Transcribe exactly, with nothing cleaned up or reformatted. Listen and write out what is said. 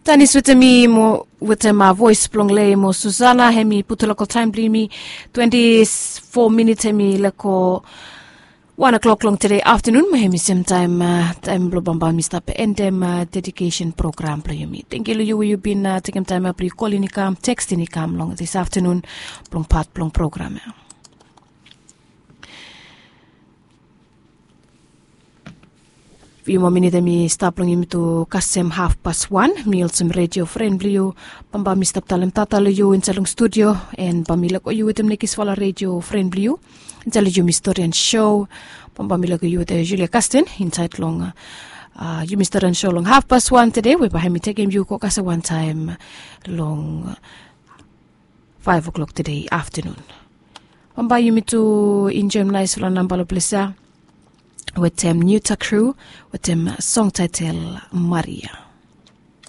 Tanis wetem mi mo wetem voes blong lei mo Susana, hem i putum lokal taem blong yumi twenti fo minit hem i leko wan o'klok long tede aftenun, mo hem i semtaem taem blong bambae mi stap endem dedikesen program blong yumi. Tengiu long yu we yu bin tekem taem blong yu kolin i kam, tekstin i kam long dis aftenun blong pat blong program ya. Fiu moa minit hem i stap long yumi tu kasem hafpas wan. Mi olsem redio fren blong yu, bambae mi stap talem tata long yu insaed long studio, en bae mi leko yu wetem nekisfala redio fren blong yu insaed long yumi storian so. Bambae mi leko yu wetem Julia Kastin insaed long yumi storian so long hafpas wan tede, we bae hem i tekem yu go kasem wantaem long faef o'klok tede aftenun. Bambae yumi tu enjoem naesfala namba long ples ya wetem New Takru wetem song taetel Maria.